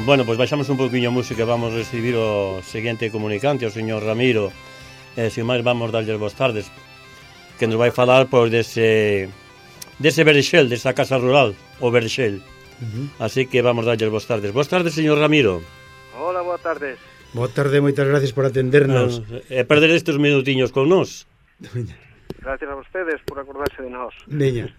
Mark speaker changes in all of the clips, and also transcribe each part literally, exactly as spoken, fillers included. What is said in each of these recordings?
Speaker 1: Bueno, pois baixamos un pouquiño a música. Vamos recibir o seguinte comunicante, o señor Ramiro. E, sin máis, vamos darlle as boas tardes, que nos vai falar, pois, dese dese Verxel, desa casa rural, o Verxel. Uh-huh. Así que vamos darlle as boas tardes. Boas tardes, señor Ramiro.
Speaker 2: Hola, boas tardes.
Speaker 3: Boa tarde, moitas gracias por atendernos.
Speaker 1: E uh, perder estes minutiños con nós.
Speaker 2: Gracias a vostedes por acordarse de nós.
Speaker 3: Veña.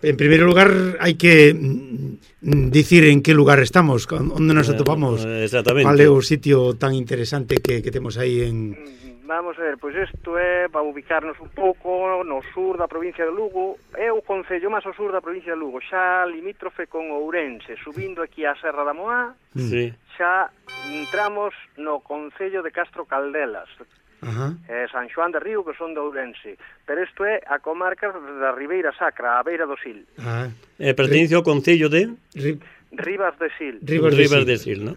Speaker 3: En primeiro lugar, hai que mm, dicir en que lugar estamos, onde nos atopamos.
Speaker 1: Uh, exactamente.
Speaker 3: Cal é o sitio tan interesante que, que temos aí en...
Speaker 2: Vamos a ver, pois isto é para ubicarnos un pouco no sur da provincia de Lugo. É o concello máis ao sur da provincia de Lugo, xa limítrofe con Ourense, subindo aquí a Serra da Moá.
Speaker 1: Sí.
Speaker 2: Xa entramos no concello de Castro Caldelas.
Speaker 3: Ajá.
Speaker 2: Eh, San Xoán de Río, que son de Ourense. Pero isto é a comarca da Ribeira Sacra, a beira do Sil.
Speaker 3: Ah.
Speaker 1: Eh, pertence ao concello de...
Speaker 3: Ri...
Speaker 2: Ribas de Sil.
Speaker 3: Ribas de
Speaker 1: Ribas
Speaker 3: Sil,
Speaker 1: de Sil, non?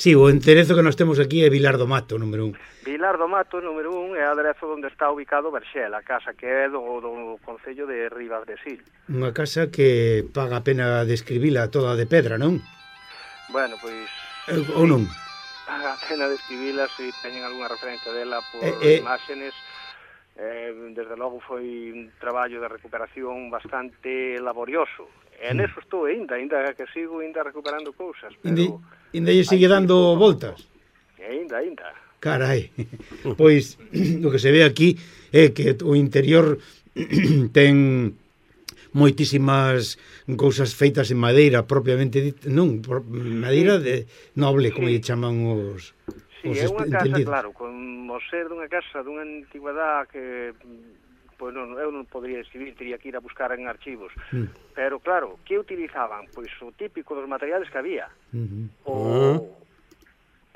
Speaker 3: Sí, o enderezo que nós temos aquí é Vilar do Mato, número un.
Speaker 2: Vilar do Mato, número un, é o aderezo onde está ubicado Verxel, a casa que é do, do concello de Ribas de Sil.
Speaker 3: Unha casa que paga a pena describila toda de pedra, non?
Speaker 2: Bueno, pois...
Speaker 3: Eh, ou non?
Speaker 2: A pena describila, se teñen algunha referencia dela por
Speaker 3: eh, eh...
Speaker 2: imágenes. Eh, desde logo foi un traballo de recuperación bastante laborioso. E
Speaker 3: mm.
Speaker 2: neso estou ainda, ainda que sigo ainda recuperando cousas.
Speaker 3: Pero ainda lle sigue dando
Speaker 2: que...
Speaker 3: voltas?
Speaker 2: Ainda, ainda.
Speaker 3: Carai, pois o que se ve aquí é que o interior ten moitísimas cousas feitas en madeira propiamente dita, non, madeira de noble, como lle chaman os...
Speaker 2: Sí, é unha casa, entendidos. Claro, con o ser dunha casa dunha antigüedade que, pois non, eu non podría escribir, teria que ir a buscar en archivos. Mm. Pero claro, que utilizaban? Pois o típico dos materiales que había. Mm-hmm. O uh-huh.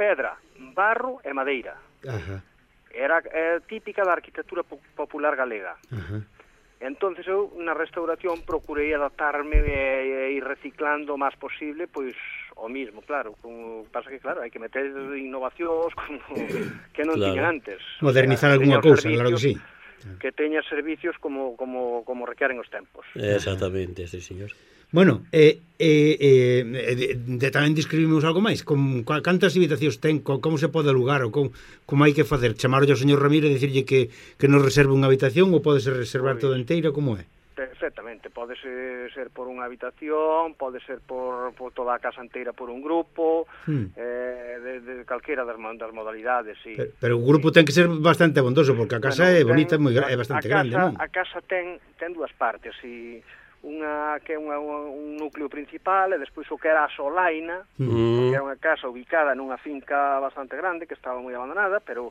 Speaker 2: pedra, barro e madeira.
Speaker 3: Ajá.
Speaker 2: Era é, típica da arquitectura popular galega.
Speaker 3: Ajá.
Speaker 2: Entonces eu na restauración procurei adaptarme e, e ir reciclando o máis posible, pois o mismo, claro, como pasa que claro, hai que meter innovacións como que non claro. tiñan antes.
Speaker 3: Modernizar o sea, algunha cousa, claro que sí.
Speaker 2: Que teña servicios como como como requeren os tempos.
Speaker 1: Exactamente, sí, señor.
Speaker 3: Bueno, eh, eh, eh, de, de, tamén describimos algo máis, con cantas habitacións ten, con, como se pode alugar ou con, como hai que facer, chamarlle ao señor Ramiro e dicirlle que, que nos reserve unha habitación ou pode ser reservar toda inteira, como é?
Speaker 2: Perfectamente, pode ser, ser por unha habitación, pode ser por, por toda a casa inteira por un grupo, hmm. eh, de, de calquera das, das modalidades, sí.
Speaker 3: Pero, pero o grupo ten que ser bastante abondoso, porque a casa bueno, é bonita, ten, moi, é bastante
Speaker 2: a casa,
Speaker 3: grande, non?
Speaker 2: A casa ten, ten dúas partes, e unha que é unha, un núcleo principal e despois o que era a solaina, mm. que era unha casa ubicada nunha finca bastante grande que estaba moi abandonada, pero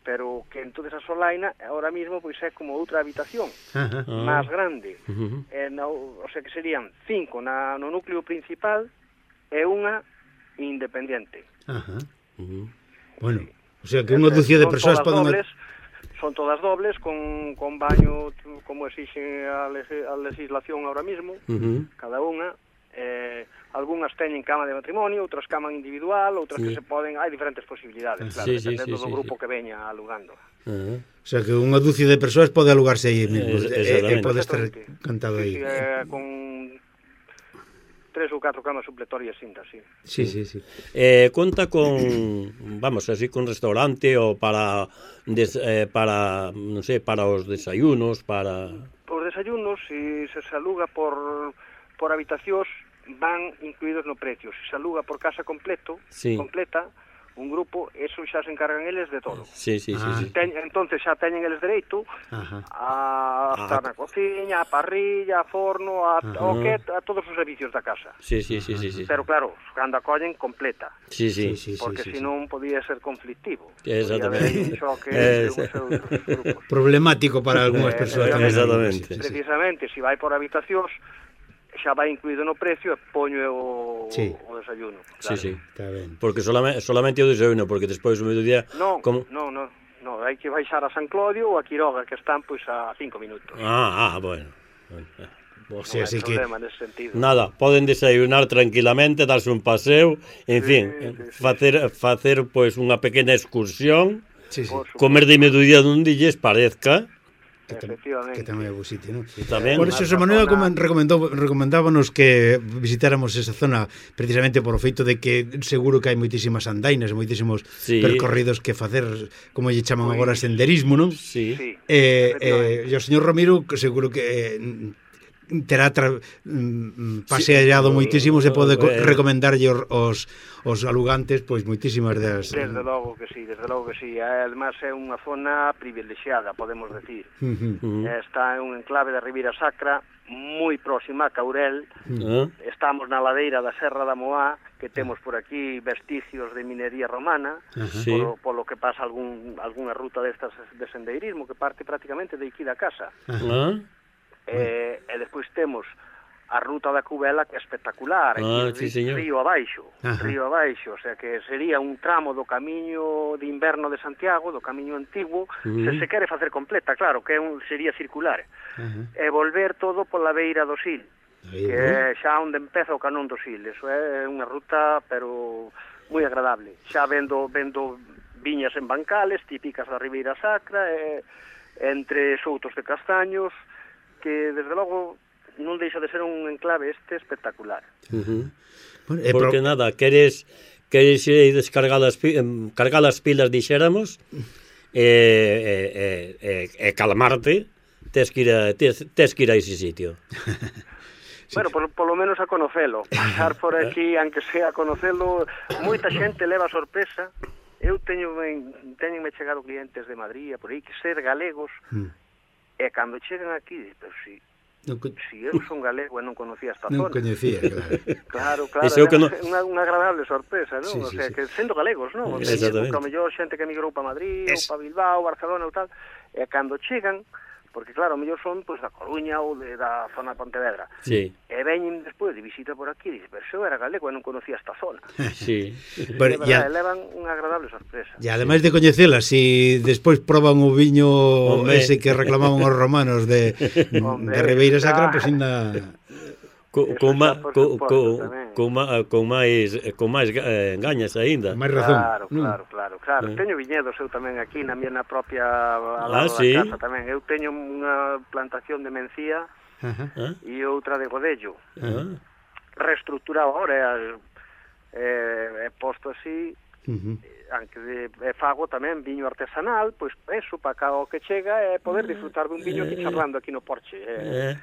Speaker 2: pero que entonces a solaina ahora mismo pois é como outra habitación uh-huh. máis grande. Uh-huh. E no, o sea que serían cinco na, no núcleo principal e unha independente.
Speaker 3: Uh-huh. Uh-huh. Bueno, o sea que unha dúcia de persoas poden...
Speaker 2: Dobles, son todas dobles, con, con baño, como exixe a, leg- a legislación ahora mismo, uh-huh. cada unha. Eh, algunhas teñen cama de matrimonio, outras cama individual, outras sí. que se poden... Hai diferentes posibilidades, claro, sí, dependendo sí, sí, do grupo sí. que veña alugando.
Speaker 3: Uh-huh. O sea, que unha dúcia de persoas pode alugarse aí mesmo, e, e pode estar cantado aí.
Speaker 2: Sí, sí, eh, con tres ou catro camas supletorias cintas, sí.
Speaker 3: Sí, sí, sí.
Speaker 1: Eh, conta con, vamos, así con restaurante ou para des, eh, para, non sei, para os desayunos, para...
Speaker 2: Os desayunos, se si se aluga por por habitacións, van incluídos no precio. Se se aluga por casa completo, sí. completa, un grupo, eso xa se encargan eles de todo.
Speaker 1: Sí, sí,
Speaker 3: ah.
Speaker 1: sí, sí.
Speaker 2: Ten, entonces xa teñen eles dereito Ajá. a estar ah. na cociña, a parrilla, a forno, a, o que, a todos os servicios da casa.
Speaker 1: Sí, sí, sí, sí, sí.
Speaker 2: Pero claro, cando a collen completa.
Speaker 1: Sí, sí, sí,
Speaker 2: porque
Speaker 1: sí, sí,
Speaker 2: senón sí. podía ser conflictivo.
Speaker 1: Exactamente.
Speaker 2: Eh,
Speaker 3: problemático para algunhas persoas.
Speaker 1: Eh, exactamente.
Speaker 2: Precisamente, se si vai por habitacións, xa vai incluído no precio e poño o, sí. o desayuno. Claro.
Speaker 1: Sí, sí, está ben. Porque solamente, solamente o desayuno, porque despois o mediodía...
Speaker 2: Non,
Speaker 1: como...
Speaker 2: non, non, non, hai que baixar a San Clodio ou a Quiroga, que están pois a cinco minutos.
Speaker 1: Ah, ah, bueno.
Speaker 2: O sea, non hai problema que... nese sentido.
Speaker 1: Nada, poden desayunar tranquilamente, darse un paseo, en sí, fin, sí, facer, sí. facer pois unha pequena excursión, sí, sí. comer de mediodía donde lles parezca...
Speaker 3: que, tam,
Speaker 2: efectivamente.
Speaker 3: que tamén é bo sitio, non?
Speaker 1: Tamén,
Speaker 3: por eso, Xosé Manuel zona... recomendou, recomendábanos que visitáramos esa zona precisamente por o feito de que seguro que hai moitísimas andainas, moitísimos sí. percorridos que facer, como lle chaman pues... agora, senderismo, non?
Speaker 1: Sí.
Speaker 2: sí
Speaker 3: eh, eh, e o señor Ramiro seguro que eh, terá tra... paseallado sí, moitísimo, se pode eh, recomendarlle os, os alugantes pois moitísimas das...
Speaker 2: Desde logo que sí, desde logo que sí. Además é unha zona privilexiada, podemos decir. Uh -huh. Está en un enclave da Ribeira Sacra, moi próxima a Caurel. Uh -huh. Estamos na ladeira da Serra da Moá, que temos por aquí vestigios de minería romana, uh -huh. polo, polo que pasa algún, algunha ruta destas de sendeirismo que parte prácticamente de aquí da casa. Uh -huh. Eh, e despois temos a ruta da Cubela, que é espectacular,
Speaker 1: ah,
Speaker 2: aquí,
Speaker 1: sí,
Speaker 2: río abaixo, Ajá. río abaixo, o sea que sería un tramo do camiño de inverno de Santiago, do camiño antigo, uh -huh. se se quere facer completa, claro, que é un, sería circular, uh -huh. e volver todo pola beira do Sil, Ahí, que é xa onde empeza o canón do Sil. Eso é unha ruta, pero moi agradable, xa vendo, vendo viñas en bancales, típicas da Ribeira Sacra, e, entre soutos de castaños, que desde logo non deixa de ser un enclave este espectacular.
Speaker 1: Uh -huh. Bueno, eh, porque pro... nada, queres queres ir descargar as cargar as pilas, dixéramos, e eh, eh, eh, eh, calmarte, tes que ir a tes, tes que ir a ese sitio.
Speaker 2: Sí. Bueno, por, por lo menos a conocelo, pasar por aquí, aunque sea a conocelo, moita xente leva sorpresa. Eu teño teñenme chegado clientes de Madrid, por aí, que ser galegos. Mm. E cando chegan aquí, pero si, non con... si eu son galego e non conocía esta
Speaker 3: non
Speaker 2: zona.
Speaker 3: Non coñecía, claro.
Speaker 2: claro, claro, é
Speaker 1: que no...
Speaker 2: unha, unha agradable sorpresa, non?
Speaker 3: Sí,
Speaker 2: o
Speaker 3: sí,
Speaker 2: sea,
Speaker 3: sí.
Speaker 2: que sendo galegos, non? O sea, que a mellor xente que emigrou para Madrid, es... ou para Bilbao, Barcelona ou tal, e cando chegan, porque claro, a mellor son pues, da Coruña ou de, da zona de Pontevedra.
Speaker 1: Sí.
Speaker 2: E veñen despois de visita por aquí e dicen, pero eu era galego e non conocía esta zona.
Speaker 1: Sí.
Speaker 2: Pero, verdad, ya... levan unha agradable sorpresa.
Speaker 3: E ademais sí. de coñecela, si despois proban o viño Hombre. ese que reclamaban os romanos de, Hombre, de Ribeira Sacra, pois pues, ainda...
Speaker 1: Co, con, ma, co, co, con, ma, con máis con máis eh, gañas aínda.
Speaker 3: Máis razón.
Speaker 2: Claro, claro, claro, claro. Eh. Teño viñedos eu tamén aquí na miña propia ao
Speaker 1: ah,
Speaker 2: lado
Speaker 1: sí?
Speaker 2: da casa tamén. Eu teño unha plantación de mencía uh-huh. e outra de godello. Uh-huh. Reestructurado agora, é, é posto así, uh-huh. aunque de, é fago tamén viño artesanal, pois eso, para cá o que chega é poder disfrutar dun viño aquí charlando aquí no porche. É,
Speaker 1: eh.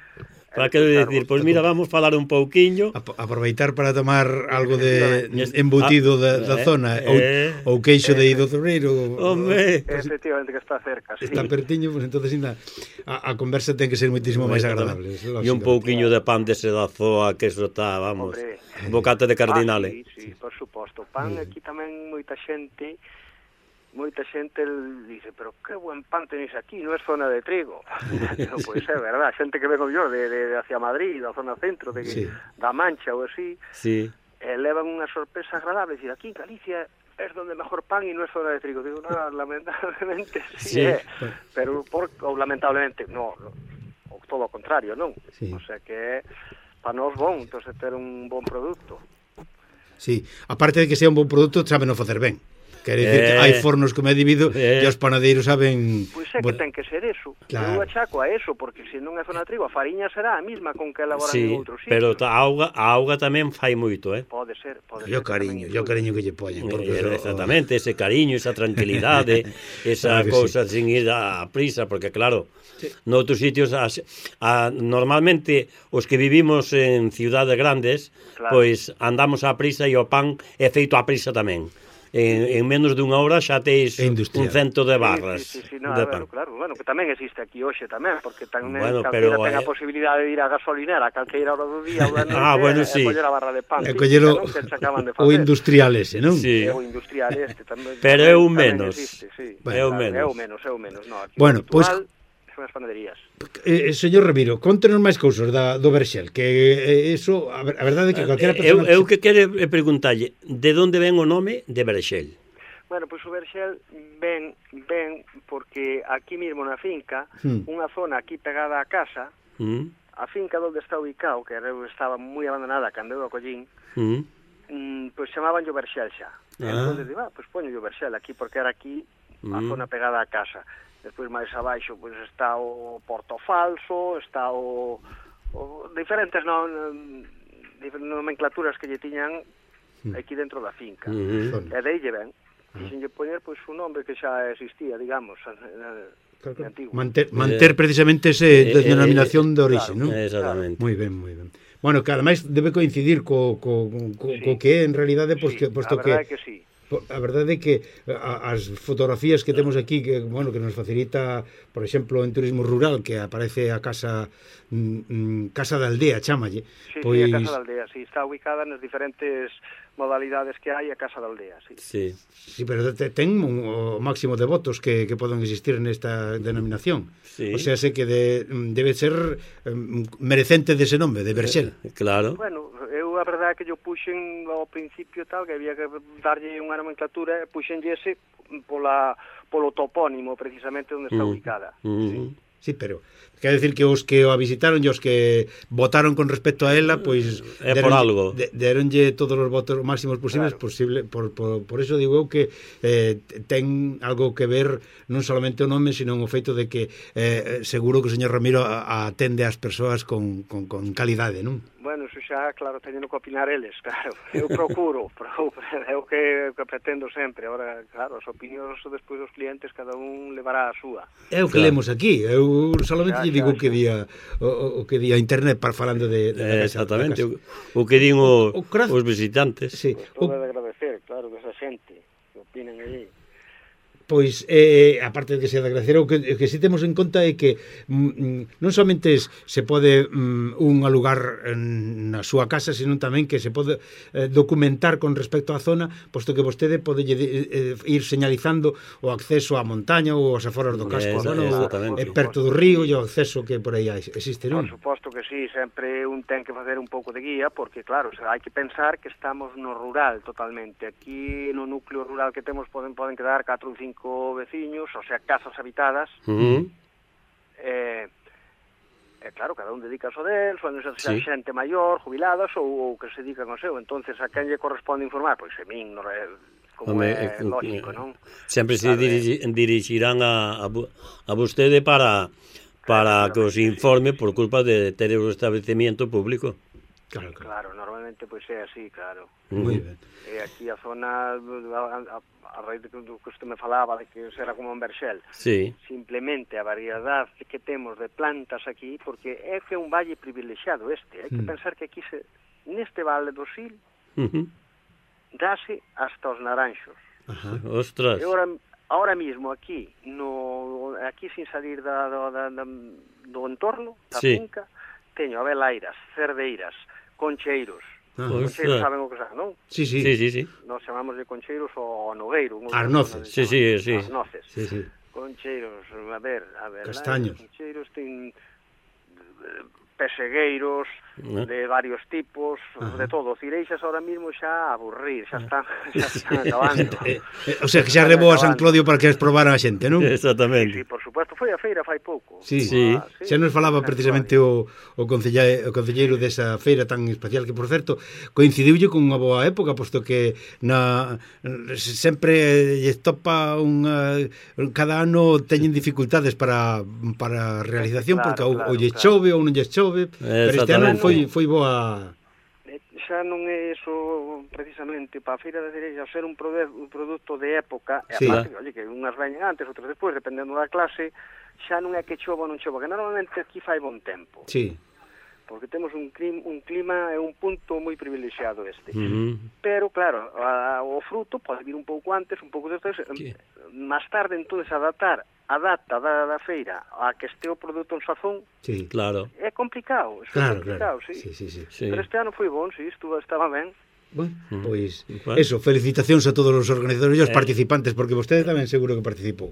Speaker 1: Para que decir, pois mira, vamos falar un pouquiño,
Speaker 3: aproveitar para tomar algo de embutido da, da zona, eh, ou, ou queixo de Ido Cebreiro.
Speaker 1: Home,
Speaker 2: efectivamente que está cerca, sí.
Speaker 3: Está pertiño, pois pues, entonces ainda a, a conversa ten que ser moitísimo máis agradable.
Speaker 1: E un pouquiño de pan de sedazoa, que eso está, vamos, Hombre. bocata de cardinale.
Speaker 2: Ah, sí, sí, por suposto. Pan mm. aquí tamén moita xente moita xente dice, pero que buen pan tenéis aquí, non é zona de trigo. No, pois é verdad, xente que vengo yo de, de, de hacia Madrid, da zona centro, de, sí. da Mancha ou así,
Speaker 1: sí.
Speaker 2: eh, levan unha sorpresa agradable, decir, aquí en Galicia é donde mejor pan e non é zona de trigo. Digo, no, lamentablemente sí, sí. é, pero por, ou lamentablemente, no, ou todo o contrario, non? Sí. O sea que para nós bon, entón ter un bon produto.
Speaker 3: Sí, aparte de que sea un bon produto, sabe non facer ben. Quere dicir eh, que hai fornos como é divido eh, e os panadeiros saben...
Speaker 2: Pois é que ten que ser eso. Claro. Eu achaco a eso, porque se non é zona de trigo, a fariña será a mesma con que elaboran sí, en outros sitios.
Speaker 1: Pero a auga, a auga tamén fai moito, eh?
Speaker 2: Pode ser, pode
Speaker 3: ser. E o cariño, e o cariño que lle poñen.
Speaker 1: Porque eh, exactamente, ese cariño, esa tranquilidade, esa claro cousa sí. sin ir a prisa, porque claro, sí. noutros sitios, a, a, normalmente, os que vivimos en ciudades grandes, claro. pois andamos a prisa e o pan é feito a prisa tamén. En, en menos dunha hora xa teis un cento de barras
Speaker 2: sí, sí, sí, no, de pan. Bueno, claro, bueno, que tamén existe aquí hoxe tamén, porque tamén
Speaker 1: bueno,
Speaker 2: calquera
Speaker 1: pero,
Speaker 2: ten a
Speaker 1: eh...
Speaker 2: posibilidade de ir a gasolinera a calqueira hora do día ou da noite
Speaker 1: ah, bueno, sí.
Speaker 2: e coller a barra de pan
Speaker 3: e coller o, o industrial ese, non?
Speaker 1: Sí.
Speaker 2: É o industrial este tamén,
Speaker 1: pero é un menos
Speaker 2: existe, sí.
Speaker 1: bueno, é un menos
Speaker 2: é o menos, é o menos no, aquí
Speaker 3: bueno, pois pues...
Speaker 2: as panaderías.
Speaker 3: Eh, señor Ramiro, contenos máis cousas da, do Verxel, que eh, eso, a, a verdade é que calquera persona...
Speaker 1: Eu, eu que quero preguntalle, de onde ven o nome de Verxel?
Speaker 2: Bueno, pois o Verxel ven, ven porque aquí mesmo na finca, mm. unha zona aquí pegada á casa, mm. a finca onde está ubicado, que estaba moi abandonada cando eu a collín, mm. mm, pois chamaban o Verxel xa. Ah. Entón, digo, ah, pois poño o Verxel aquí, porque era aquí a zona pegada á casa. Despois máis abaixo pois está o Porto Falso, está o, o diferentes non, diferentes nomenclaturas que lle tiñan aquí dentro da finca. Uh-huh. E de aí lle ven. Quixenlle poñer pois un nombre que xa existía, digamos, antigo.
Speaker 3: Manter, manter precisamente ese
Speaker 1: eh,
Speaker 3: denominación eh, de orixe,
Speaker 1: claro,
Speaker 3: non?
Speaker 1: Exactamente.
Speaker 3: Moi ben, moi ben. Bueno, que ademais debe coincidir co, co, co, sí. co que é en realidade, pois,
Speaker 2: sí,
Speaker 3: que, posto
Speaker 2: a
Speaker 3: que...
Speaker 2: verdade que sí.
Speaker 3: A verdade é que as fotografías que temos aquí, que bueno, que nos facilita, por exemplo, en turismo rural, que aparece a casa mm, Casa da Aldea, chámalle.
Speaker 2: Sí,
Speaker 3: pois...
Speaker 2: sí, a Casa da Aldea, sí, está ubicada nas diferentes modalidades que hai a Casa da Aldea, sí.
Speaker 1: Sí,
Speaker 3: sí, pero te, ten o máximo de votos que, que poden existir nesta denominación.
Speaker 1: Sí.
Speaker 3: O sea, sé que de, debe ser um, merecente dese nome, de Berxel.
Speaker 1: Eh, claro.
Speaker 2: Bueno, eu a verdade é que yo puxen ao principio tal, que había que darlle unha nomenclatura, puxenlle ese pola, polo topónimo, precisamente, onde está mm. ubicada.
Speaker 1: Mm.
Speaker 2: Sí.
Speaker 3: Sí, pero quer decir que os que o visitaron e os que votaron con respecto a ela, pois
Speaker 1: é por algo.
Speaker 3: De, deronlle todos os votos máximos posibles, claro. posible, por, por, por eso digo eu que eh, ten algo que ver non solamente o nome, sino o feito de que eh, seguro que o señor Ramiro atende ás persoas con, con, con calidade, non?
Speaker 2: Bueno, eso xa, claro, teñen que opinar eles, claro. Eu procuro, é o que, que pretendo sempre. Ahora, claro, as opinións despois dos clientes, cada un levará a súa.
Speaker 3: É o que claro. lemos aquí. Eu solamente lle digo o que día o, o que día internet para falando de, de
Speaker 1: eh, exactamente, o, o que din o, o, o os visitantes.
Speaker 3: Sí.
Speaker 2: Pues todo o... de agradecer, claro, que esa xente que opinen aí.
Speaker 3: Pois, eh, aparte de que se agradecer, o que, o que si temos en conta é que mm, non somente se pode mm, un alugar en, na súa casa, sino tamén que se pode eh, documentar con respecto á zona, posto que vostede pode eh, ir señalizando o acceso á montaña ou aos aforos do casco,
Speaker 1: Esa,
Speaker 3: bueno, é perto do río e o acceso que por aí existe, non?
Speaker 2: Por suposto que sí, sempre un ten que facer un pouco de guía, porque claro, hai que pensar que estamos no rural totalmente. Aquí no núcleo rural que temos poden poden quedar catro ou cinco veciños, o sea, casas habitadas.
Speaker 1: Uh-huh.
Speaker 2: eh, eh, claro, cada un dedica o del, son sí. xente maior, jubiladas ou, ou que se dedican ao seu. Entonces, a quen lle corresponde informar? Pois a min, no, como Home, é eh, lógico, non?
Speaker 1: Sempre se dirigi, dirixirán a, a, a vostede para para claro, que os informe por culpa de ter o establecimiento público.
Speaker 2: Claro, claro. claro, normalmente pois é así, claro.
Speaker 3: Moi ben.
Speaker 2: E aquí a zona, a, a, a raíz do que usted me falaba, de que será como en Berxel,
Speaker 1: sí.
Speaker 2: simplemente a variedade que temos de plantas aquí, porque é que é un valle privilexiado este, hai que mm. pensar que aquí, se, neste vale do Sil,
Speaker 1: uh-huh.
Speaker 2: dase hasta os naranxos.
Speaker 1: Ajá. Ostras.
Speaker 2: E ahora, ahora mismo aquí, no, aquí sin salir da, da, da, do entorno, da sí. finca, teño abelairas, cerdeiras, concheiros.
Speaker 3: Ah,
Speaker 2: concheiros saben o que saben, non?
Speaker 3: Sí, sí.
Speaker 1: sí, sí, sí.
Speaker 2: Nos chamamos de concheiros o nogueiro.
Speaker 3: Arnoces.
Speaker 1: Sí, sí, sí.
Speaker 2: Arnoces.
Speaker 3: Sí, sí.
Speaker 2: Concheiros, a ver, a ver.
Speaker 3: Castaños.
Speaker 2: Concheiros ten pesegueiros, ¿no? De varios tipos, ajá. De todo. Cireixas ahora mismo xa aburrir, xa están, xa están acabando.
Speaker 3: eh, eh, o sea, que xa rebou a San Clodio para que as probara a xente, non?
Speaker 1: Exactamente.
Speaker 2: Sí, sí, por supuesto, foi a feira fai pouco.
Speaker 3: Sí, sí. Ah, sí. Xa nos falaba precisamente o, o, concelleiro, o concelleiro desa feira tan especial que, por certo, coincidiulle con unha boa época, posto que na sempre lle topa unha, cada ano teñen dificultades para, para a realización, claro, porque claro, ou lle claro. chove ou non lle chove, pero este ano foi, foi boa.
Speaker 2: Xa non é iso precisamente para a feira de Cereixa ser un, produ un produto de época, e
Speaker 3: sí.
Speaker 2: aparte, oye, que unhas veñen antes, outras despois, dependendo da clase, xa non é que chova ou non chova, que normalmente aquí fai bon tempo.
Speaker 3: Sí.
Speaker 2: Porque temos un clima, un clima e un punto moi privilexiado este.
Speaker 1: Uh-huh.
Speaker 2: Pero, claro, a, o fruto pode vir un pouco antes, un pouco despois, máis tarde, entonces, adaptar a data da, da feira a que este o produto en sazón,
Speaker 1: sí, claro.
Speaker 2: É complicado, é
Speaker 3: claro,
Speaker 2: complicado,
Speaker 3: claro.
Speaker 2: sí.
Speaker 3: Sí, sí, sí.
Speaker 2: Pero este ano foi bon, sí, estuvo, estaba ben.
Speaker 3: Bueno, pois, pues, eso, felicitacións a todos os organizadores e os eh. participantes, porque vostede tamén seguro que participou.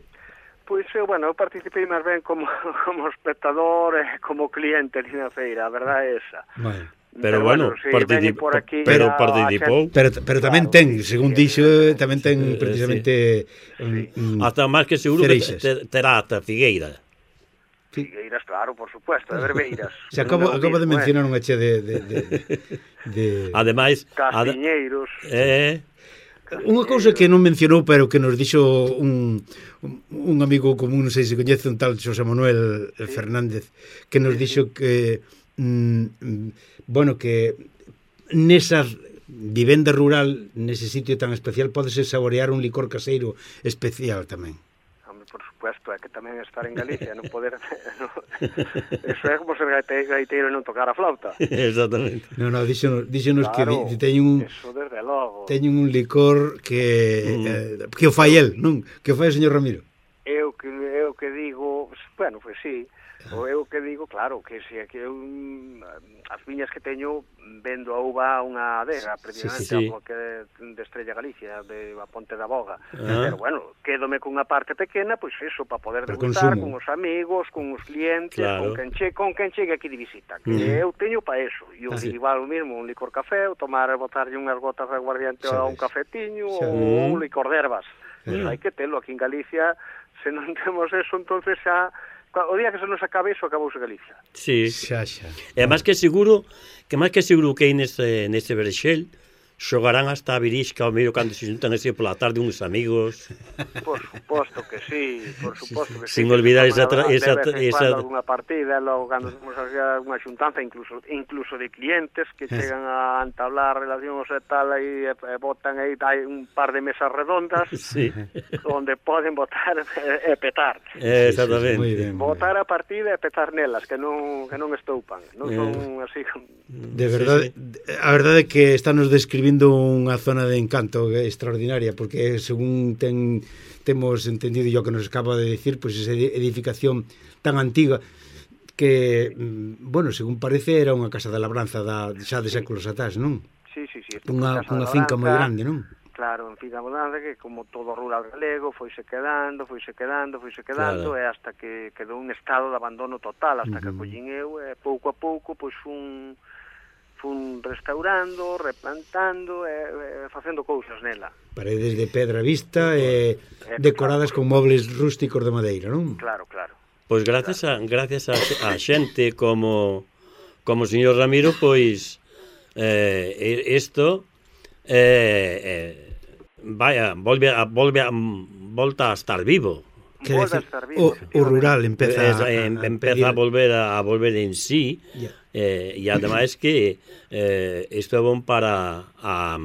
Speaker 2: Pois, eu, bueno, eu participei máis ben como, como espectador e como cliente ali na feira, a verdade é esa.
Speaker 3: Bueno.
Speaker 1: Pero, pero bueno,
Speaker 2: sí,
Speaker 1: particip
Speaker 2: aquí,
Speaker 1: pero participou.
Speaker 3: Pero, pero tamén claro, ten, según sí, dixo, tamén ten sí, precisamente
Speaker 1: sí. Um, hasta máis que seguro Cereixas. Que terá ata Figueira.
Speaker 2: Figueiras, claro, por supuesto, de verbeiras.
Speaker 3: Se acabo, acabo de mencionar unha che de, de, de, de...
Speaker 1: Ademais,
Speaker 2: castiñeiros.
Speaker 1: Eh,
Speaker 3: Unha cousa que non mencionou, pero que nos dixo un, un amigo común, non sei se coñece, un tal Xosé Manuel sí. Fernández, que nos sí, dixo sí. que mm, bueno, que nesa vivenda rural, nese sitio tan especial, podese saborear un licor caseiro especial tamén.
Speaker 2: Por supuesto, é que tamén estar en Galicia non poder no, eso é como ser gaiteiro e non tocar a flauta.
Speaker 1: Exactamente.
Speaker 3: No, no, díxonos, díxonos claro, que teñen un
Speaker 2: eso desde logo.
Speaker 3: Teñen un licor que mm. eh, que o fai el, non? Que o fai o señor Ramiro.
Speaker 2: Eu que eu que digo, bueno, pois pues sí. O eu que digo, claro, que se que eu as viñas que teño vendo a uva a unha adega, precisamente sí, sí, sí. a que de Estrella Galicia, de a Ponte da Boga. Ah. Pero bueno, quédome cunha parte pequena, pois eso, para poder degustar con os amigos, con os clientes, claro. con quen che, con quen chegue aquí de visita, que mm. eu teño para eso. E eu ah, sí. igual o mismo, un licor café, ou tomar, botarlle unhas gotas de aguardiente a un cafetiño, ou un licor de ervas. Mm. Hai que telo aquí en Galicia, se non temos eso, entonces xa o día que se nos acabe iso, acabouse Galicia.
Speaker 1: Sí, xa, xa. E máis que seguro, que máis que seguro que aí nese, nese Berexel xogarán hasta a virisca o medio cando se xuntan así pola tarde uns amigos.
Speaker 2: Por suposto que sí, por suposto que sí.
Speaker 1: Sin olvidar esa esa
Speaker 2: esa unha partida, logo cando temos unha xuntanza incluso incluso de clientes que chegan a entablar relacións e tal e, e botan aí hai un par de mesas redondas
Speaker 1: sí.
Speaker 2: onde poden botar e, e petar.
Speaker 1: Eh, exactamente.
Speaker 3: Sí, sí, bien,
Speaker 2: botar a partida e petar nelas, que non que non estoupan, non son eh. así.
Speaker 3: De verdade, sí, sí. A verdade é que estános describindo unha zona de encanto extraordinaria, porque según ten, temos entendido yo que nos acaba de decir, pois pues esa edificación tan antiga que, bueno, según parece era unha casa de labranza da, xa de séculos atrás, non?
Speaker 2: Sí, sí, sí.
Speaker 3: Unha, unha finca moi grande, non?
Speaker 2: Claro, en finca abundante, que como todo rural galego foise quedando, foise quedando, foise quedando, claro. E hasta que quedou un estado de abandono total, hasta uh-huh. que collín eu, e pouco a pouco, pois un... fun restaurando, replantando e, e facendo cousas nela.
Speaker 3: Paredes de pedra vista e eh, decoradas con mobles rústicos de madeira, non?
Speaker 2: Claro, claro.
Speaker 1: Pois gracias a gracias a, a xente como como o señor Ramiro, pois eh isto eh, eh vaya, volve a volve a volta a estar vivo.
Speaker 3: Que decir, o, o rural empeza
Speaker 1: a, a, a empeza a volver a, a volver en sí. Yeah. Eh, e ademais que eh, isto é bon para a,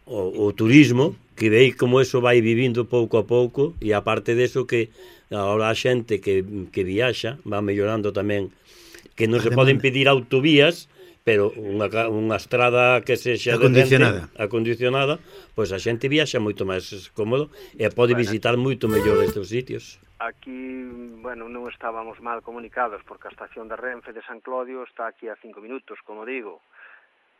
Speaker 1: o, o turismo, que vei como eso vai vivindo pouco a pouco, e aparte deso que agora a xente que, que viaxa va mellorando tamén, que non se poden pedir autovías, pero unha, unha estrada que sexa
Speaker 3: acondicionada,
Speaker 1: decente, acondicionada, pois a xente viaxa moito máis cómodo e pode bueno. visitar moito mellor estes sitios.
Speaker 2: Aquí, bueno, non estábamos mal comunicados porque a estación de Renfe de San Clodio está aquí a cinco minutos, como digo.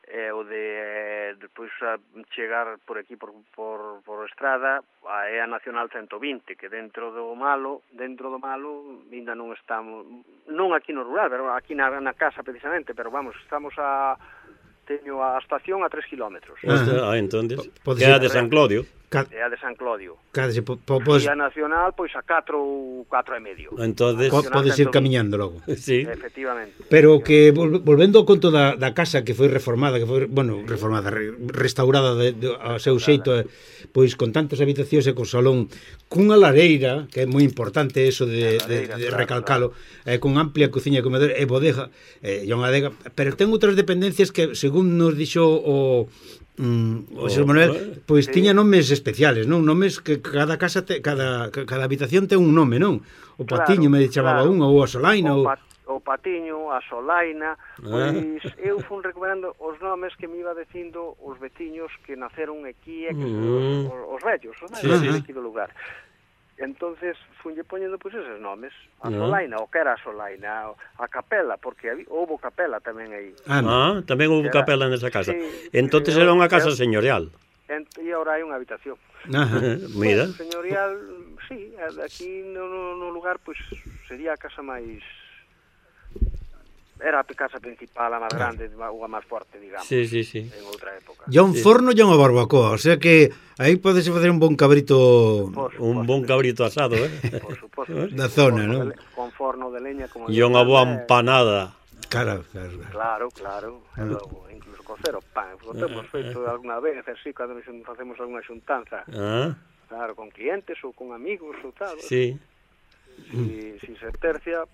Speaker 2: E o de depois a chegar por aquí por, por, por estrada é a Nacional ciento vinte, que dentro do malo, dentro do malo, ainda non estamos, non aquí no rural, pero aquí na, na casa precisamente, pero vamos, estamos a teño a estación a tres kilómetros.
Speaker 1: Ah, ah entonces, que é a de San Clodio.
Speaker 2: É a de San Clodio.
Speaker 3: Case, po, po, pos...
Speaker 2: E a Nacional, pois a catro e medio.
Speaker 3: Entonces, podes ir camiñando logo.
Speaker 1: Sí.
Speaker 2: Efectivamente.
Speaker 3: Pero que, volvendo ao conto da, da casa que foi reformada, que foi, bueno, reformada, restaurada de, de, a seu xeito, pois con tantas habitacións e con salón, cunha lareira, que é moi importante eso de, lareira, de, de claro, recalcalo, claro. Eh, con amplia cociña, comedor e bodega, eh, e unha adega, pero ten outras dependencias que, según nos dixo o... Mm, o señor Manuel, pois sí. tiña nomes especiales, non? Nomes que cada casa te, cada cada habitación ten un nome, non? O Patiño claro, me chamaba claro. unha, ou a Solaina,
Speaker 2: o, pat, o Patiño, a Solaina, pois ah. eu fun recuperando os nomes que me iba dicindo os veciños que naceron aquí e que mm. os, os vellos, os vellos sí, sí. aquí do lugar. Entonces funlle poñendo pois eses nomes, a Solaina, o que era a Solaina, a capela, porque houbo capela tamén aí.
Speaker 1: Ah, ah tamén houbo capela nesa casa. Sí, entonces era unha casa señorial.
Speaker 2: E agora hai unha habitación.
Speaker 1: Ajá, mira.
Speaker 2: Pues, señorial, sí, aquí no, no, no lugar pois sería a casa máis... Era a casa principal, a máis grande, ou a máis forte, digamos,
Speaker 1: sí, sí, sí.
Speaker 2: en outra época.
Speaker 3: Ya un sí. forno e unha barbacoa, o sea que aí podese facer un bon cabrito...
Speaker 1: Un bon cabrito asado, eh?
Speaker 2: Por suposto.
Speaker 3: Da sí, zona, non?
Speaker 2: Con forno de leña, como...
Speaker 1: E unha boa empanada.
Speaker 3: Claro, claro.
Speaker 2: Claro, claro. E logo, incluso cocer o pan. O temos feito alguna vez, así, cando facemos alguna xuntanza.
Speaker 1: Ah.
Speaker 2: Claro, con clientes ou con amigos ou tal.
Speaker 1: Sí.
Speaker 2: Si, si se tercia,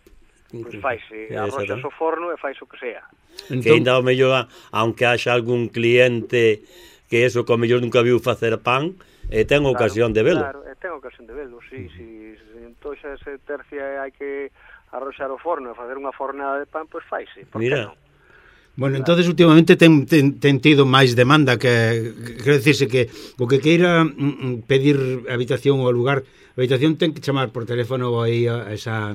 Speaker 2: pois faise, arroxas o forno e fais o que sea.
Speaker 1: Entón, que ainda o mellor, aunque haxa algún cliente que eso que o mellor nunca viu facer pan, e ten
Speaker 2: claro,
Speaker 1: ocasión de velo.
Speaker 2: Claro, e ten ocasión de velo, sí, si, si entón xa se tercia e hai que arroxar o forno e facer unha fornada de pan, pois faise, por que non?
Speaker 3: Bueno, entonces últimamente ten, ten, ten tido máis demanda que, que quero dicirse que o que queira mm, pedir habitación ou lugar, a habitación ten que chamar por teléfono aí a esa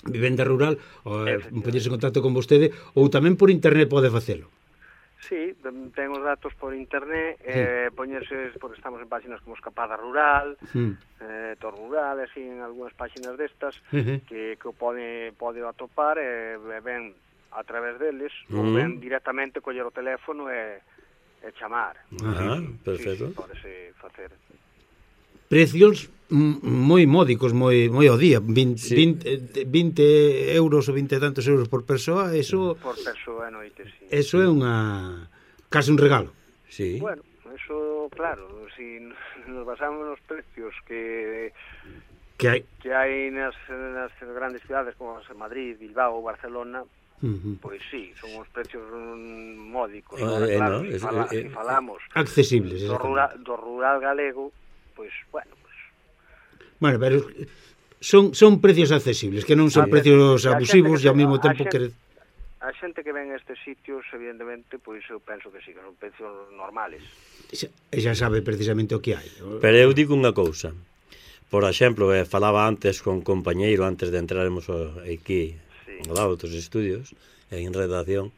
Speaker 3: vivenda rural ou poñerse en contacto con vostede ou tamén por internet pode facelo.
Speaker 2: Sí, ten os datos por internet, sí. eh, poñerse, porque estamos en páxinas como Escapada Rural, sí. eh, Tor Rural, así en algunhas páxinas destas, uh-huh. que, que o pode, pode atopar e eh, ven a través deles, uh-huh. ou ven directamente coller o teléfono e, e chamar.
Speaker 1: Ah, sí, perfecto.
Speaker 2: Sí, sí, podese facer.
Speaker 3: Precios moi módicos, moi moi ao día, vinte, sí. vinte, vinte euros ou vinte e tantos euros por persoa, eso
Speaker 2: por persoa a noite, sí.
Speaker 3: Eso é unha case un regalo.
Speaker 1: Sí.
Speaker 2: Bueno, eso claro, si nos basamos nos precios que
Speaker 3: que hai
Speaker 2: que hai nas, nas grandes cidades como Madrid, Bilbao, Barcelona, uh-huh. pois sí, son uns precios módicos, uh,
Speaker 1: eh,
Speaker 2: claro,
Speaker 1: no,
Speaker 2: si,
Speaker 1: es,
Speaker 2: fala,
Speaker 1: eh,
Speaker 2: si falamos
Speaker 3: accesibles,
Speaker 2: do rural, do rural galego, pois, bueno,
Speaker 3: Bueno, pero son son precios accesibles, que non son sí. precios abusivos e ao mesmo tempo que
Speaker 2: a xente que ven a estes sitios, evidentemente, pois eu penso que sí, que son precios normales.
Speaker 3: E xa sabe precisamente o que hai.
Speaker 1: Pero eu digo unha cousa. Por exemplo, eh, falaba antes con un compañeiro antes de entrarmos aquí sí. ao lado dos estudios, en redacción,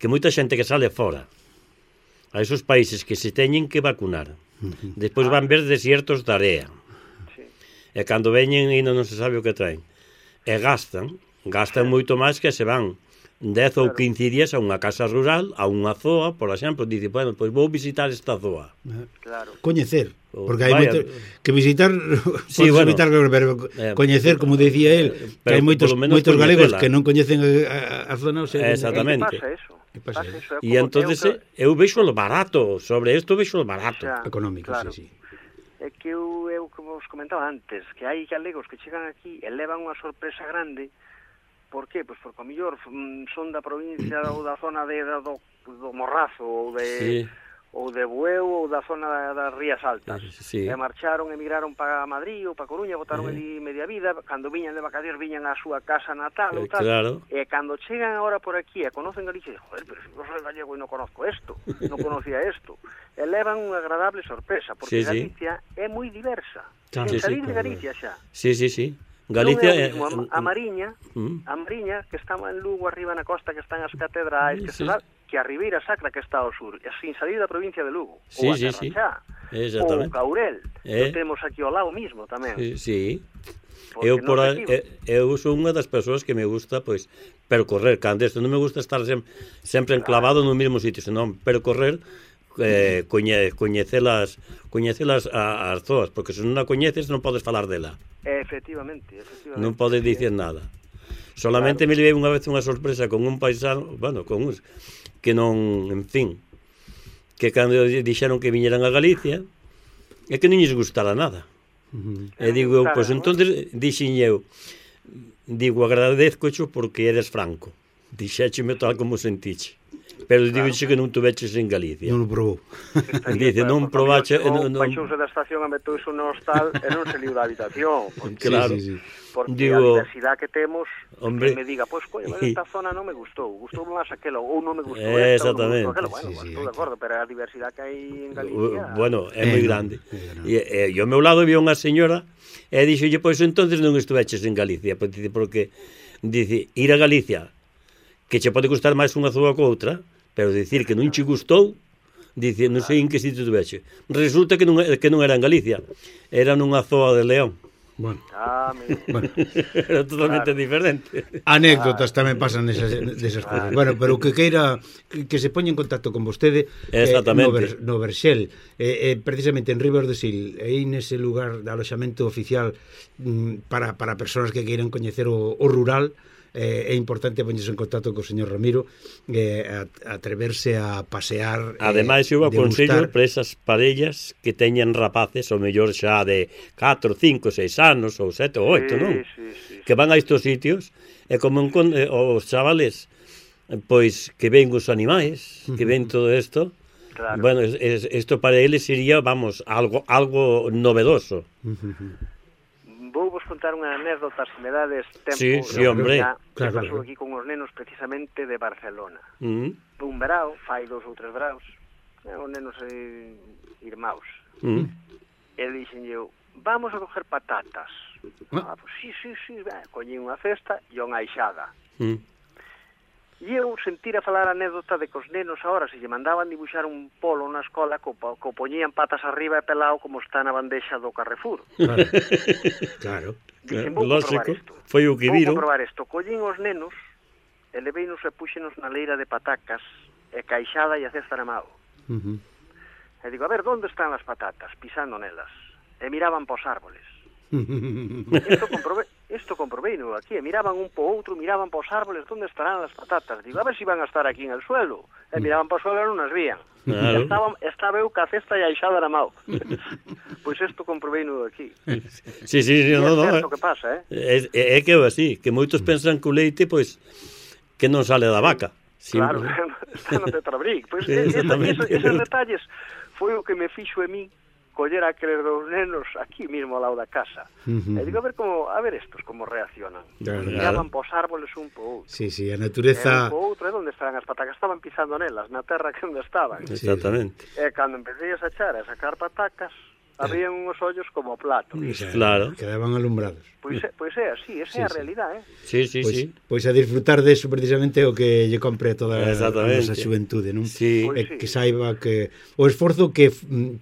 Speaker 1: que moita xente que sale fora a esos países que se teñen que vacunar, uh-huh. despois van ver desiertos de area. E cando veñen ainda non se sabe o que traen. E gastan, gastan moito máis que se van dez ou quince días a unha casa rural, a unha zoa, por exemplo, dice, bueno, pois vou visitar esta zoa.
Speaker 2: Claro.
Speaker 3: Coñecer, porque hai moito que visitar,
Speaker 1: sí, bueno,
Speaker 3: visitar, pero coñecer, como decía él, que hai moitos moitos galegos que non coñecen a, a zona, o sea,
Speaker 2: exactamente. Pasa eso.
Speaker 3: Pasa eso.
Speaker 1: E entonces eu vexo o barato, sobre isto vexo o barato.
Speaker 3: Económico,
Speaker 2: claro.
Speaker 3: sí, sí.
Speaker 2: É que eu, eu, como vos comentaba antes, que hai galegos que chegan aquí e levan unha sorpresa grande. Por qué? Pois porque, ao mellor, son da provincia ou da zona de, do, do Morrazo ou de, sí. ou de Bueu ou da zona das Rías Altas.
Speaker 1: Sí.
Speaker 2: E marcharon, emigraron para Madrid ou para Coruña, botaron sí. ali media vida. Cando viñan de vacacións, viñan á súa casa natal ou tal.
Speaker 1: Claro.
Speaker 2: E cando chegan agora por aquí e conocen Galicia, joder, pero se eu soy gallego e non conozco isto, non conocía isto. E levan unha agradable sorpresa, porque sí, Galicia sí. é moi diversa.
Speaker 1: Sí,
Speaker 2: en
Speaker 1: sí,
Speaker 2: salir
Speaker 1: sí,
Speaker 2: de Galicia xa.
Speaker 1: Sí, sí, sí. Galicia
Speaker 2: é mesmo, a, a Mariña, mm. a Mariña, que está en Lugo, arriba na costa, que están as catedrais, que, sí. se que a Ribeira Sacra, que está ao sur, sin salir da provincia de Lugo.
Speaker 1: Sí,
Speaker 2: ou a
Speaker 1: sí, sí.
Speaker 2: Ou Caurel, eh. que temos aquí ao lado mismo tamén.
Speaker 1: Sí, sí. Eu, por a, eu sou unha das persoas que me gusta, pois, percorrer, cando isto non me gusta estar sempre, sempre enclavado no mesmo sitio, senón percorrer, eh, coñe, coñecelas coñecelas a, as zoas, porque se non a coñeces non podes falar dela.
Speaker 2: Efectivamente, efectivamente.
Speaker 1: Non podes dicir nada. Solamente claro. Me levei unha vez unha sorpresa con un paisano, bueno, con uns que non, en fin, que cando dixeron que viñeran a Galicia, é que non lles gustara nada. Uh-huh. E digo, pois pues, entonces dixen eu, digo, agradezcocho porque eres franco. Dixécheme tal como sentiche. Pero claro. Digo que non tuveches en Galicia.
Speaker 3: Non o probou.
Speaker 1: Dice, non probache...
Speaker 2: Baixouse da estación e meteu iso no hostal e non se liu da habitación.
Speaker 1: Porque, claro. Sí, sí, sí.
Speaker 2: Porque
Speaker 1: digo,
Speaker 2: a diversidade que temos, hombre, que me diga, pois, pues, coño, esta zona non me gustou, gustou máis aquelo, ou non me gustou
Speaker 1: eh, esta, ou non me
Speaker 2: gustou aquelo. Bueno,
Speaker 3: sí, sí,
Speaker 2: estou de acordo, pero a diversidade que hai en Galicia...
Speaker 1: Bueno, é moi grande. E, e, e ao meu lado había unha señora e dixolle, pois, entonces non estuveches en Galicia, porque, dice, ir a Galicia, que che pode gustar máis unha zoa que outra, pero dicir que non che gustou, dice, non sei en que sitio tuveche. Resulta que non, que non era en Galicia, era nunha zoa de León.
Speaker 3: Bueno.
Speaker 2: Ah,
Speaker 3: bueno.
Speaker 1: Era totalmente claro. Diferente.
Speaker 3: Anécdotas tamén pasan nesas, desas claro. Cousas. Bueno, pero que queira que, que se poña en contacto con vostede eh, no, Ver, no Verxel, eh, eh, precisamente en Ribas do Sil, aí nese lugar de aloxamento oficial mm, para, para persoas que queiran coñecer o, o rural, eh, é importante poñerse en contacto co señor Ramiro, eh, a, a atreverse a pasear.
Speaker 1: Ademais,
Speaker 3: eh,
Speaker 1: eu aconsello
Speaker 3: degustar.
Speaker 1: para esas parellas que teñen rapaces, ou mellor xa de catro, cinco, seis anos, ou sete, ou oito,
Speaker 2: Sí,
Speaker 1: non?
Speaker 2: sí, sí,
Speaker 1: Que van a estos sitios, e como encon- eh, os chavales, eh, pois, que ven os animais, que ven todo isto,
Speaker 2: Claro.
Speaker 1: bueno, es- es- esto para eles sería, vamos, algo algo novedoso.
Speaker 2: Vou vos contar unha anécdota, se me dades tempo.
Speaker 1: Sí, sí,
Speaker 2: de
Speaker 1: hombre.
Speaker 2: verdad,
Speaker 3: Claro,
Speaker 2: que pasou
Speaker 3: claro.
Speaker 2: aquí con os nenos precisamente de Barcelona.
Speaker 1: Mm,
Speaker 2: Un verao, fai dos ou tres veraos, eh, os nenos eh, irmãos.
Speaker 1: mm.
Speaker 2: E dixen eu, vamos a coger patatas.
Speaker 3: Ah.
Speaker 2: Ah, pues sí, sí, sí, ben, coñín unha cesta e unha aixada.
Speaker 1: Mm.
Speaker 2: E eu sentir a falar a anécdota de que os nenos agora se lle mandaban dibuixar un polo na escola co, co poñían patas arriba e pelao como está na bandexa do Carrefour.
Speaker 3: Claro. Claro.
Speaker 2: Dixen, vou comprobar
Speaker 1: Lógico,
Speaker 2: isto.
Speaker 1: foi o que
Speaker 2: Vou
Speaker 1: viron.
Speaker 2: comprobar isto. Collín os nenos, e leveinos e puxenos na leira de patacas, e caixada e a cesta na mao.
Speaker 3: Uh-huh.
Speaker 2: E digo, a ver, onde están as patatas? Pisando nelas. E miraban pos árboles. Isto comprobei, isto comprobei no aquí, e miraban un po outro, miraban pos árboles, onde estarán as patatas? Digo, a ver si van a estar aquí en el suelo. E miraban pos suelo e non as vían.
Speaker 1: Claro.
Speaker 2: Estaba, estaba eu ca cesta e a aixada na mao. Pois isto comprobei no aquí.
Speaker 1: Sí, sí, sí,
Speaker 2: E
Speaker 1: no,
Speaker 2: é
Speaker 1: no,
Speaker 2: certo
Speaker 1: eh.
Speaker 2: que pasa, eh?
Speaker 1: É, é, é que é así, que moitos pensan que o leite, pois, que non sale da vaca.
Speaker 2: Claro,
Speaker 1: Simple.
Speaker 2: está no Tetrabric. Pois
Speaker 1: Sí,
Speaker 2: esa,
Speaker 1: exactamente.
Speaker 2: esos, esos detalles foi o que me fixo en mí coller a aqueles dous nenos aquí mismo ao lado da casa.
Speaker 3: Ujú.
Speaker 2: E digo, a ver como, a ver estos como reaccionan.
Speaker 3: Claro.
Speaker 2: Miraban pos árboles un po outro.
Speaker 3: Sí, sí, a
Speaker 2: E
Speaker 3: natureza...
Speaker 2: un po outro, e onde estaban as patacas? Estaban pisando nelas, na terra que onde estaban.
Speaker 1: Exactamente.
Speaker 2: E cando empecé a sachar a sacar patacas, habían uns ollos como platos.
Speaker 3: Xa,
Speaker 1: Claro.
Speaker 3: Quedaban alumbrados.
Speaker 2: Pois, é- pois é así, esa
Speaker 3: Sí,
Speaker 2: é a
Speaker 3: sí.
Speaker 2: realidade, eh?
Speaker 1: Sí, sí,
Speaker 3: Pois,
Speaker 1: sí.
Speaker 3: pois a disfrutar de eso precisamente o que lle compre a toda a
Speaker 1: Exactamente.
Speaker 3: nosa xuventude, non?
Speaker 1: Sí.
Speaker 3: E
Speaker 2: Pois sí.
Speaker 3: que saiba que o esforzo que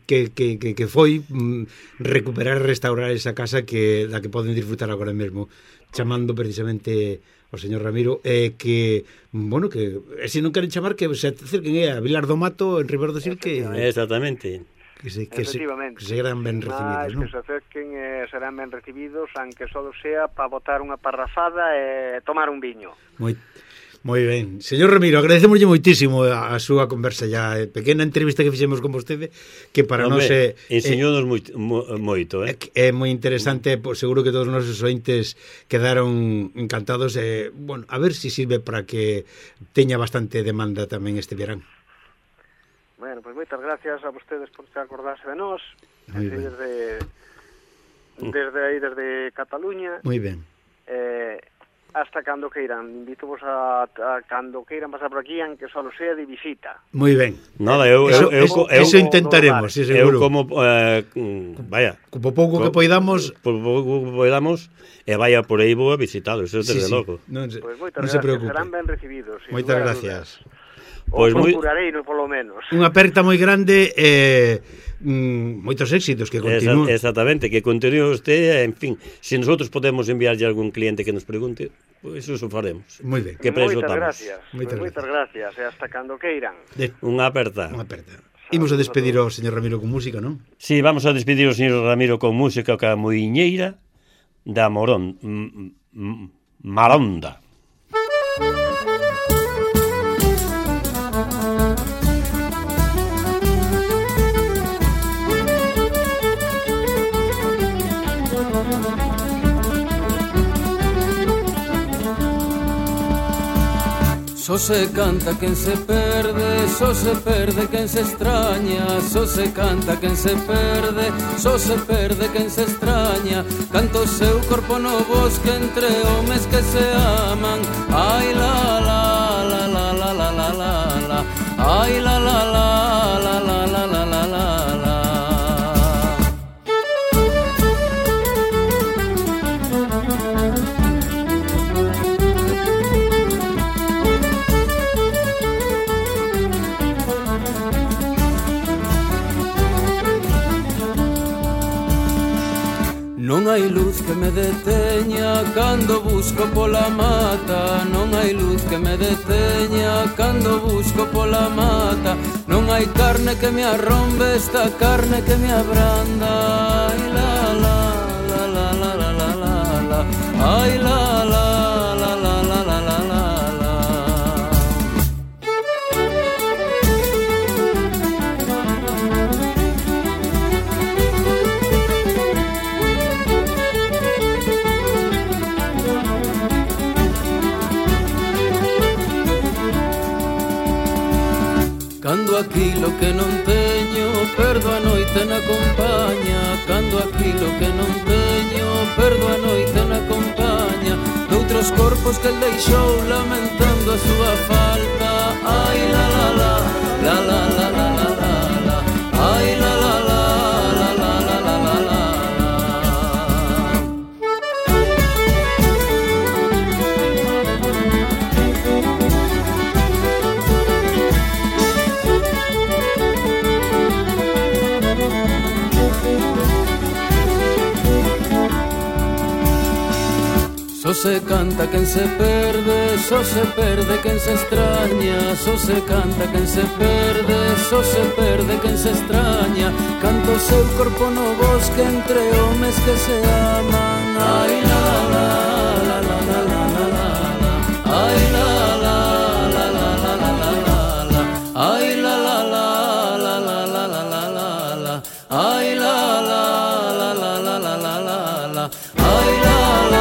Speaker 3: que, que, que, que foi mm, recuperar e restaurar esa casa que da que poden disfrutar agora mesmo, chamando precisamente o señor Ramiro, e que, bueno, que e se non queren chamar que se acerquen é a Vilar do Mato en Ribeiro do Sil que
Speaker 1: Exactamente.
Speaker 3: que se que se,
Speaker 2: Efectivamente.
Speaker 3: que se eran ben recibidos,
Speaker 2: Mas
Speaker 3: non?
Speaker 2: que se acerquen e serán ben recibidos, aunque só sea para botar unha parrafada e tomar un viño.
Speaker 3: Moi Moi ben. Señor Ramiro, agradecemoslle moitísimo a, a súa conversa ya, a pequena entrevista que fixemos con vostede, que para nós é
Speaker 1: enseñounos moito, mo- moito,
Speaker 3: é,
Speaker 1: eh?
Speaker 3: é moi interesante, pois seguro que todos os nosos ointes quedaron encantados e, bueno, a ver se si sirve para que teña bastante demanda tamén este verán.
Speaker 2: Bueno, pois moitas gracias a vostedes por se acordarse de nós,
Speaker 3: Moi
Speaker 2: así
Speaker 3: ben.
Speaker 2: desde desde aí, desde Cataluña,
Speaker 3: Moi ben.
Speaker 2: eh, hasta cando queiran. Invítovos a, a cando queiran pasar por aquí, aunque só sea de visita.
Speaker 3: Moi ben.
Speaker 1: Nada, eu, eu,
Speaker 3: Eso,
Speaker 1: eu,
Speaker 3: eso,
Speaker 1: eu,
Speaker 3: eso intentaremos, sí,
Speaker 1: eu
Speaker 3: seguro.
Speaker 1: como, eh, mm, vaya,
Speaker 3: Como pouco que
Speaker 1: Co-
Speaker 3: poidamos,
Speaker 1: por pouco que podamos, e vaya por aí vou a visitalo, eso
Speaker 3: sí,
Speaker 1: desde
Speaker 3: sí,
Speaker 1: logo.
Speaker 3: non se,
Speaker 2: Pois moitas
Speaker 3: non se
Speaker 2: gracias,
Speaker 3: preocupe.
Speaker 2: serán ben recibidos. sin
Speaker 3: Moitas
Speaker 2: lugar a
Speaker 3: gracias.
Speaker 2: dudas.
Speaker 1: Pois
Speaker 2: O
Speaker 1: moi-
Speaker 2: procurarei, no polo menos.
Speaker 3: Unha aperta moi grande e mm, moitos éxitos que
Speaker 1: Esa,
Speaker 3: continúen.
Speaker 1: exactamente, que continúe usted, en fin, se nosotros podemos enviarlle algún cliente que nos pregunte, pois pues eso faremos.
Speaker 3: Moi ben.
Speaker 1: Que preso
Speaker 2: Moitas
Speaker 1: estamos?
Speaker 2: gracias.
Speaker 3: Moitas
Speaker 2: Pois moitas gracias. E hasta cando queiran.
Speaker 3: De,
Speaker 1: Unha aperta.
Speaker 3: unha aperta. Imos a despedir ao señor Ramiro con música, non?
Speaker 1: Sí, vamos a despedir o señor Ramiro con música ca moiñeira da Morón, m- m- Maronda.
Speaker 4: Só se canta quen se perde, só se perde quen se extraña, só se canta quen se perde, só se perde quen se extraña. Canto o seu corpo no bosque entre homes que se aman. Ai la la la la la la la la la. Ai la la la la la la la la la la. Non hai luz que me deteña cando busco pola mata. Non hai luz que me deteña cando busco pola mata. Non hai carne que me arrombe esta carne que me abranda. Ai la la la la la la la la la. Ai la la la la la Cando aquilo que non teño perdo a noite na compañía, cando aquilo que non teño perdo a noite na compañía doutros corpos que el deixou lamentando a súa falta. Ai la la la, la la la la la la la, ai la la la, la la la la la la. Só se canta quen se perde, só se perde quen se extraña, só se canta quen se perde, só se perde quen se extraña. Canta o seu corpo no bosque entre homes que se aman. Ai la la la la la la la la la, ai la la la la la la la la la, ai la la la la la la la la la la, ai la la la la la la la la la, ai la la